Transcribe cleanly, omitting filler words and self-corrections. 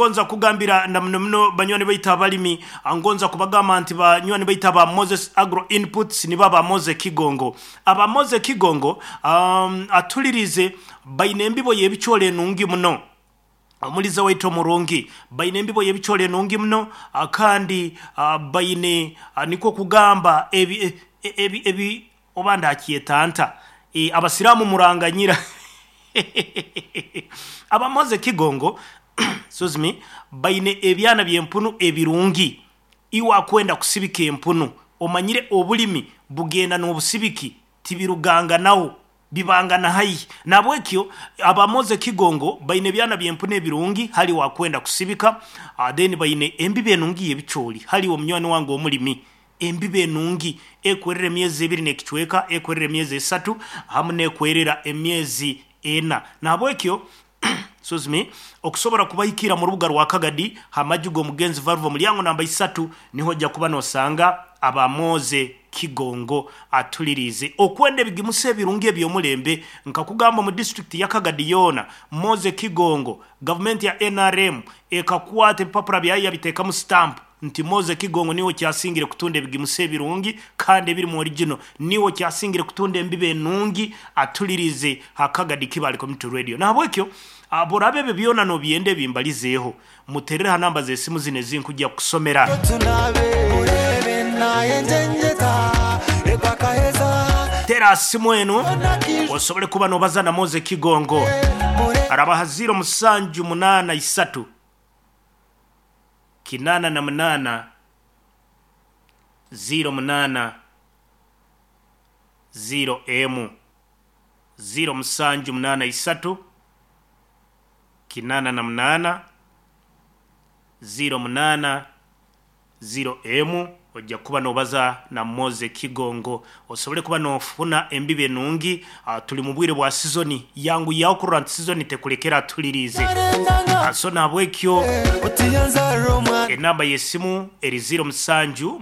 Ngonza kugambira na muno muno banywani baitu abalimi, ngonza kubagamba nti banywani baitu aba Moses Agro Inputs nibo aba Moze Kigongo. Aba Moze Kigongo atuliriize baine embibo y'ebicoori enungi muno. Omuliza waitu omurungi, baine embibo y'ebicoori enungi muno kandi baine nikwo kugamba ebi ebi ebi oba ndakyeta nta? Abasiraamu muranganyira. Aba Moze Kigongo excuse me, baine ebyana by'empunu ebirungi. Iwe akwenda kusibika empunu, omanyire obulimi bugenda n'obusibiki tibiruganganaho, bibangana haihi. Nahabwekyo aba Moze Kigongo baine ebyana by'empunu ebirungi hali iwe akwenda kusibika, then baine embibo enungi y'ebicoori hali iwe munywani wange omulimi. Embibo enungi ekwerera emyezi ebiri n'ekicweka, ekwerera emyezi esatu hamu n'ekwerera emyezi ena. Nahabwekyo excuse me, okusobora kubahikira mu rubuga rwa Kagadi ha maju g'omugenzi Valvo mulyango namba isatu niho oja kuba nosanga aba Moze Kigongo atuliriize okwenda ebigimusa ebirungi eby'omulembe nkakugamba omu disiturikiti ya Kagadi yoona Moze Kigongo gavumenti ya nrm ekakwata ebipapura byayo yabiteekamu sitampu nti Moze Kigongo niiwe okyasingire kutunda ebigimusa ebirungi kandi ebirimu origino, niiwe okyasingire kutunda embibo enungi atulirize ha Kagadi Kibale Community Radio. Nahabwekyo bworaba ebyo byona nobyenda ebimbalizeeho, muterere ha namba z'esimu zinu ezinkugya kukusomera. Tera ha simu enu osobole kuba nobaza na Moze Kigongo. Araba ha ziiro musanju munaana isatu. 88 08 0 emu 0 musanju munaana isatu 88 08 0 emu oja kuba nobaza na Moze Kigongo osobole kuba nofuna embibo enungi. Tuli mu bwire bwa sizoni, yanguyaho kurora nti sizoni tekulekera atuliriize. So nahabwekyo enamba y'esimu eri 07.